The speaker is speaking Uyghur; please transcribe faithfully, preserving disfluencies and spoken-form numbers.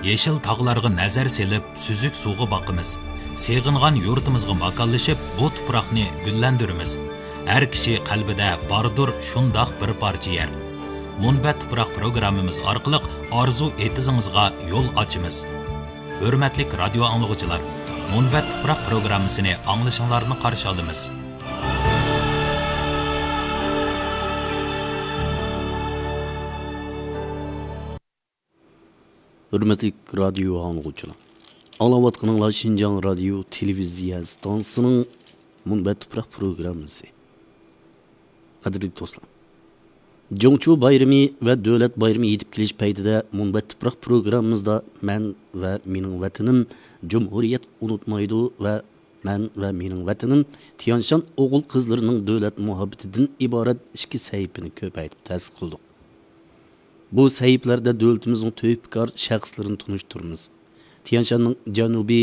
يېشىل تاغلارغا نەزەر سېلىپ، سۈزۈك سۇغا باقىمىز. سېغىنغان يۇرتىمىزغا ماكانلىشىپ، بۇ تۇپراقنى گۈللەندۈرىمىز. ھەر كىشى قەلبىدە باردۇر شۇنداق بىر پارچە يەر. مۇنبەت تۇپراق پروگراممىمىز ئارقىلىق ئارزۇ ئېتىزىڭىزغا يول ئاچىمىز. ھۆرمەتلىك رادىيو ئاڭلىغۇچىلار، مۇنبەت تۇپراق پروگراممىسىنى ئاڭلىشىڭلارنى قارشى ئالىمىز. ھۆرمەتلىك رادىيو ئاڭلىغۇچىلار، ئاڭلاۋاتقىنىڭلار شىنجاڭ رادىيو تېلېۋىزىيە ئىستانسىسىنىڭ مۇنبەت تۇپراق پروگراممىسى. قەدىرلىك دوستلار، جۇڭچۇ بايرىمى ۋە دۆلەت بايرىمى يېتىپ كېلىش پەيتىدە مۇنبەت تۇپراق پروگراممىمىزدا مەن ۋە مېنىڭ ۋەتىنىم جۇمھۇرىيەت ئۇنتۇلمايدۇ ۋە مەن ۋە مېنىڭ ۋەتىنىم تيانشان ئوغۇل قىزلىرىنىڭ دۆلەت مۇھەببىتىدىن ئىبارەت ئىككى سەھىپىنى كۆپەيتىپ تەسىس قىلدۇق. بۇ سەھىپىلەردە دۆلىتىمىزنىڭ تۆھپىكار شەخسلىرىنى تونۇشتۇرىمىز. تيانشاننىڭ جەنۇبىي